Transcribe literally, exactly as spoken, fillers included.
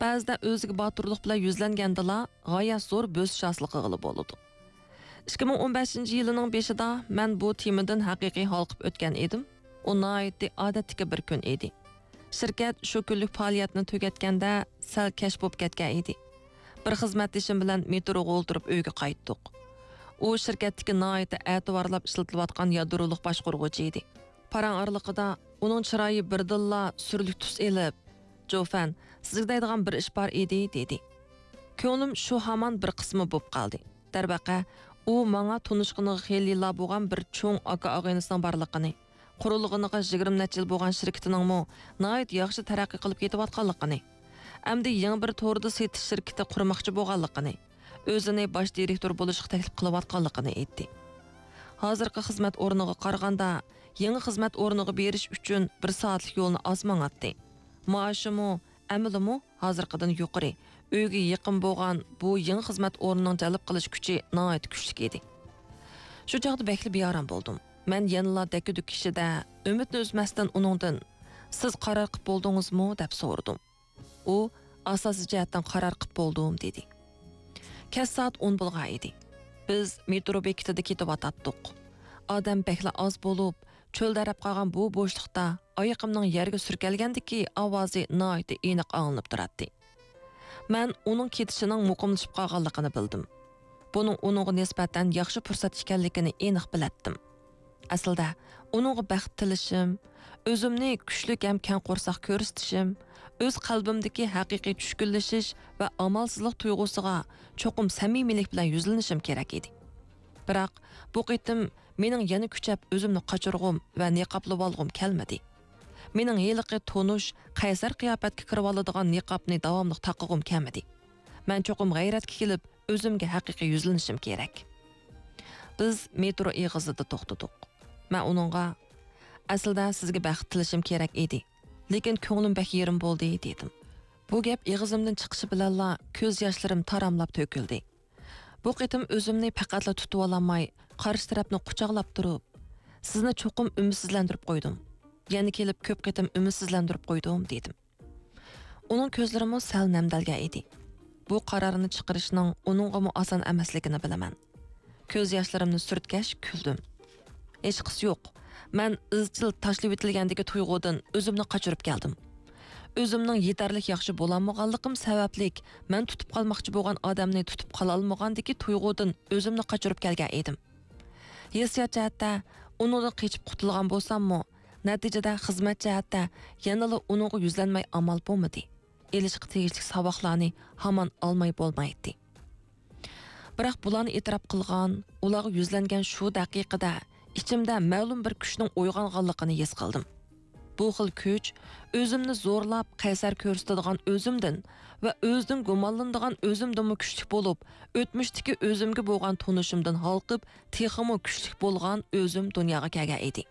بەزىدە ئۆزىگە باتۇرلۇق بىلەن يۈزلەنگەندىلا غايەت زور بۆسۈش ھاسىل قىلغىلى بولىدۇ. ئىككى مىڭ ئون بەشىنچى يىلىنىڭ بېشىدا مەن بۇ تېمىدىن ھەقىقىي ھالقىپ ئۆتكەن ئىدىم. ئۇ ناھايىتى ئادەتتىكى بىر كۈن ئىدى. شىركەت شۇ كۈنلۈك پائالىيەتنى تۈگەتكەندە سەل كەچ بولۇپ كەتكەن ئىدى. بىر خىزمەتدىشىم بىلەن مېتروغا ئولتۇرۇپ ئۆيگە قايتتۇق. ئۇ شىركەتتىكى ناھايىتى ئەتىۋارلاپ ئىشلىتىلىۋاتقان يادرولۇق باشقۇرغۇچى ئىدى. پاراڭ ئارىلىقىدا ئۇنىڭ چىرايى بىردىنلا سۈرلۈك تۈس ئېلىپ، «جوفەن، سىزگە دەيدىغان بىر ئىش بار ئىدى» دېدى. كۆڭلۈم شۇ ھامان بىر قىسما بوپ قالدى. دەرۋەقە، ئۇ ماڭا تونۇشقىنىغا خېلىلا بولغان بىر چوڭ ئاكا-ئاغىنىسىنىڭ بارلىقىنى، قۇرۇلغىنىغا يىگىرمە نەچچە يىل بولغان شىركىتىنىڭمۇ ناھايىتى ياخشى تەرەققىي قىلىپ كېتىۋاتقانلىقىنى، ئەمدى يېڭى بىر توردا سېتىش شىركىتى قۇرماقچى بولغانلىقىنى، ئۆزىنى باش دىرېكتور بولۇشقا تەكلىپ قىلىۋاتقانلىقىنى ئېيتتى. ھازىرقى خىزمەت ئورنىغا قارىغاندا، يېڭى خىزمەت ئورنىغا بېرىش ئۈچۈن بىر سائەتلىك يولنى ئاز ماڭاتتى. مائاشىمۇ، ئەمىلىمۇ ھازىرقىدىن يۇقىرى، ئۆيگە يېقىن بولغان بۇ يېڭى خىزمەت ئورنىنىڭ جەلپ قىلىش كۈچى ناھايىتى كۈچلۈك ئىدى. شۇ چاغدا بەكلا بىئارام بولدۇم. مەن يەنىلا دەككە-دۈككە ئىچىدە ئۈمىدنى ئۈزمەستىن ئۇنىڭدىن، «سىز قارار قىپ بولدىڭىزمۇ؟» دەپ سورىدىم. ئۇ، «ئاساسىي جەھەتتىن قارار قىپ بولدۇم» دېدى. كەچ سائەت ئون بولغان ئىدى. بىز مېترو بېكىتىدا كېتىۋاتاتتۇق. ئادەم بەكلا ئاز بولۇپ، چۆلدەرەپ قالغان بۇ بوشلۇقتا ئايىقىمنىڭ يەرگە سۈركەلگەندىكى ئاۋازى ناھايىتى ئېنىق ئاڭلىنىپ تۇراتتى. مەن ئۇنىڭ كېتىشىنىڭ مۇقىملىشىپ قالغانلىقىنى بىلدىم. بۇنىڭ ئۇنىڭغا نىسبەتەن ياخشى پۇرسەت ئىكەنلىكىنى ئېنىق بىلەتتىم. ئەسلىدە، ئۇنىڭغا بەخت تىلىشىم، ئۆزۈمنى كۈچلۈك ھەم كەڭ قورساق كۆرسىتىشىم، ئۆز قەلبىمدىكى ھەقىقىي چۈشكۈنلىشىش ۋە ئامالسىزلىق تۇيغۇسىغا چوقۇم سەمىمىيلىك بىلەن يۈزلىنىشىم كېرەك ئىدى. بىراق، بۇ قېتىم مېنىڭ يەنە كۈچەپ ئۆزۈمنى قاچۇرغۇم ۋە نىقابلىۋالغۇم كەلمىدى. مېنىڭ ھېلىقى تونۇش، قەيسەر قىياپەتكە كىرىۋالىدىغان نىقابنى داۋاملىق تاقىغۇم كەلمىدى. مەن چوقۇم غەيرەتكە كېلىپ، ئۆزۈمگە ھەقىقىي يۈزلىنىشىم كېرەك. بىز مېترو ئېغىزىدا توختىدۇق. مەن ئۇنىڭغا، «ئەسلىدە سىزگە بەخت تىلىشىم كېرەك ئىدى، لېكىن كۆڭلۈم بەك يېرىم بولدى» دېدىم. بۇ گەپ ئېغىزىمدىن چىقىشى بىلەنلا كۆز ياشلىرىم تاراملاپ تۆكۈلدى. بۇ قېتىم ئۆزۈمنى پەقەتلا تۇتۇۋالالماي، قارشى تەرەپنى قۇچاقلاپ تۇرۇپ، «سىزنى چوقۇم ئۈمىدسىزلەندۈرۈپ قويدۇم. يەنە كېلىپ كۆپ قېتىم ئۈمىدسىزلەندۈرۈپ قويدۇم» دېدىم. ئۇنىڭ كۆزلىرىمۇ سەل نەمدەلگەن ئىدى. بۇ قارارنى چىقىرىشنىڭ ئۇنىڭغىمۇ ئاسان ئەمەسلىكىنى بىلىمەن. كۆز ياشلىرىمنى سۈرتكەچ كۈلدۈم. ھېچقىسى يوق. مەن ئىزچىل تاشلىۋېتىلگەندىكى تۇيغۇدىن ئۆزۈمنى قاچۇرۇپ كەلدىم. ئۆزۈمنىڭ يېتەرلىك ياخشى بولالمىغانلىقىم سەۋەبلىك، مەن تۇتۇپ قالماقچى بولغان ئادەمنى تۇتۇپ قالالمىغاندىكى تۇيغۇدىن ئۆزۈمنى قاچۇرۇپ كەلگەن ئىدىم. ھېسسىيات جەھەتتە ئۇنىڭدىن قېچىپ قۇتۇلغان بولساممۇ، نەتىجىدە خىزمەت جەھەتتە يەنىلا ئۇنىڭغا يۈزلەنمەي ئامال بولمىدى. ئېلىشقا تېگىشلىك ساۋاقلارنى ھامان ئالماي بولمايتتى. بىراق بۇلارنى ئېتىراپ قىلغان، ئۇلارغا يۈزلەنگەن شۇ دەقىقىدە ئىچىمدە مەلۇم بىر كۈچنىڭ ئويغانغانلىقىنى ھېس قىلدىم. بۇ خىل كۈچ ئۆزۈمنى زورلاپ قەيسەر كۆرسىتىدىغان ئۆزۈمدىن ۋە ئۆزىدىن گۇمانلىنىدىغان ئۆزۈمدىنمۇ كۈچلۈك بولۇپ، ئۆتمۈشتىكى ئۆزۈمگە بولغان تونۇشۇمدىن ھالقىپ، تېخىمۇ كۈچلۈك بولغان ئۆزۈم دۇنياغا كەلگەن ئىدى.